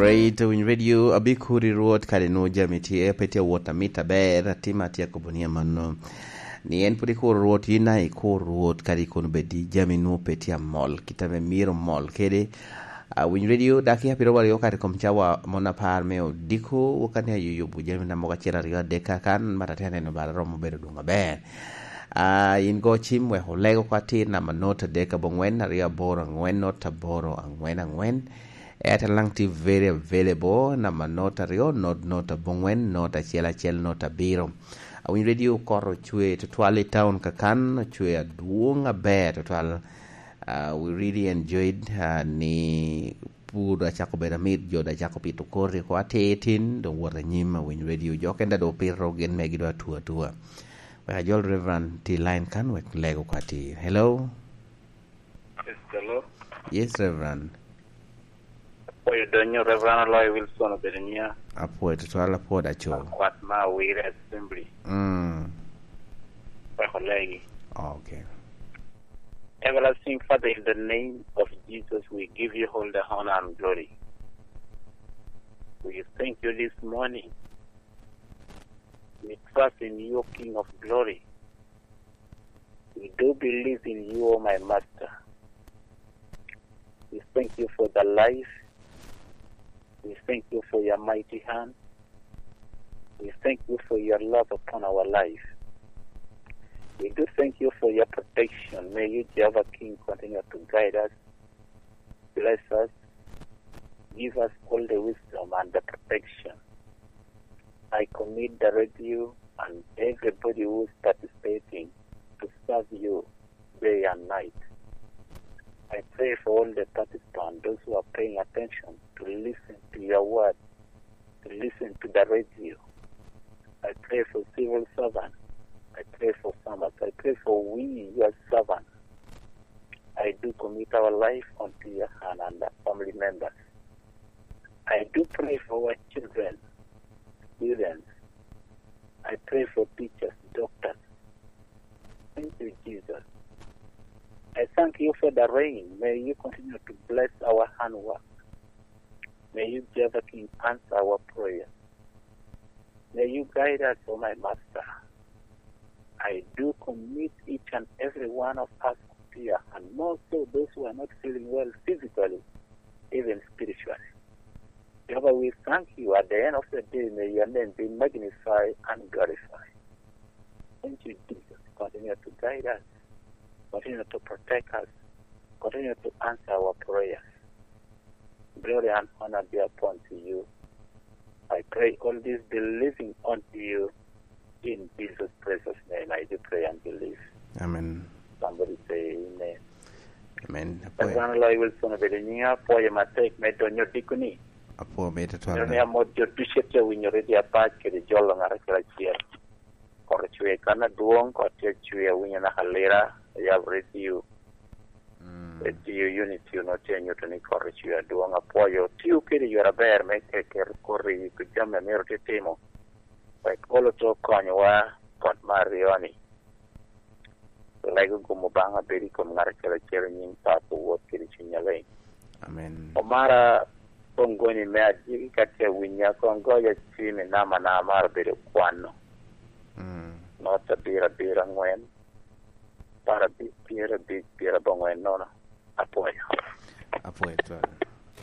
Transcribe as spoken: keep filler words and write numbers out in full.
Right, Winy Radio, abikuri Rwot kadi nu jami tye pe tye wot amit aber, atima tye akobo ni amanno. Ni en pwod ikuro Rwot, yin a ikur Rwot, kadi kun obed i jami nu pe tye amol, kit ame myero mol kede. A Winy Radio, dakika piero aryo kadi kom cawa mon apar me odiko, wakani ayo yubo jami na mogo acel aryo adek kakan, mata tye aneno bala romo bedo dwong aber. A, in go cim wek olego kwa atir namba not adek abongwen aryo aboro angwen not aboro angwen angwen. Airtel lang tye very available, namba not aryo, not, not abongwen, not acel acel, not abiro. Awinyo Radio koro ocwe tutwal i town kakan, ocwe adwong aber tutwal. Uh, we really enjoyed, uh, ni pur acako bedo amit, jo da acako pito koti ko atir tin, dong wot anyim. Awinyo Radio jo kenda do pito gin megi do atua atua. Wek ajol Reverend ti line kan wek lego kwa atir. Hello? Praise the Lord. Yes, Reverend. Apwoyo donyo Reverend Aloy Wilson obedo niya. Apwoyo tutwal, apwoyo da co. Akwat ma Awire Assembly. Mm. Wek olegi. Okay. Everlasting Father, in the name of Jesus, we give you all the honor and glory. We thank you this morning. We trust in you, King of glory. We do believe in you, O my Master. We thank you for the life. We thank you for your mighty hand. We thank you for your love upon our life. We do thank you for your protection. May you, Jehovah King, continue to guide us, bless us, give us all the wisdom and the protection. I commit the radio and everybody who is participating to serve you day and night. I pray for all the participants, those who are paying attention to listen to your word, to listen to the radio. I pray for civil servants. I pray for farmers. I pray for we, your servants. I do commit our life unto your hand and our family members. I do pray for our children, students. I pray for teachers, doctors. Thank you, Jesus. I thank you for the rain. May you continue to bless our handwork. May you, Jehovah King, answer our prayer. May you guide us, O my Master. I do commit each and every one of us here, and more so those who are not feeling well physically, even spiritually. Jehovah, we thank you. At the end of the day, may your name be magnified and glorified. Thank you, Jesus. Continue to guide us. Continue to protect us. Continue to answer our prayers. Glory and honor be upon to you. I pray all this believing unto you in Jesus' precious name. I do pray and believe. Amen. Somebody say amen. Amen. Apwoyo. Reverend Aloy Wilson obedo nyiŋa, apwoyo matek me donyo dikoni. Apwoyo me tutwal. Ni amot jo ducu a tye winyo Radio Apac kede jolo ŋat acel acel. Kot ocwe kan adwoŋ, kot tye acwe, awinyo naka lira, ayabo radio. Mm. Radio Unity onongo tye anyuto ni kot ocwe adwoŋ, apwoyo. Tio kede yore aber me ke-, keto koti i jami a myero tye timo. Wek olo to konyowa kot me aryo-ni. Lego gum Obaŋa bedo i kom ŋat acel acel i nyiŋ Papo, Wod kede Cuny Alec. Amen. Omara koŋ goni me adiki ka tye awinya, koŋ goya cim i namba na amaro bedo kwano. Mm. Not abiro abiro aŋwen, apar abic, pyerabic, pyerabongwen nono. Apwoyo. Apwoyo twal.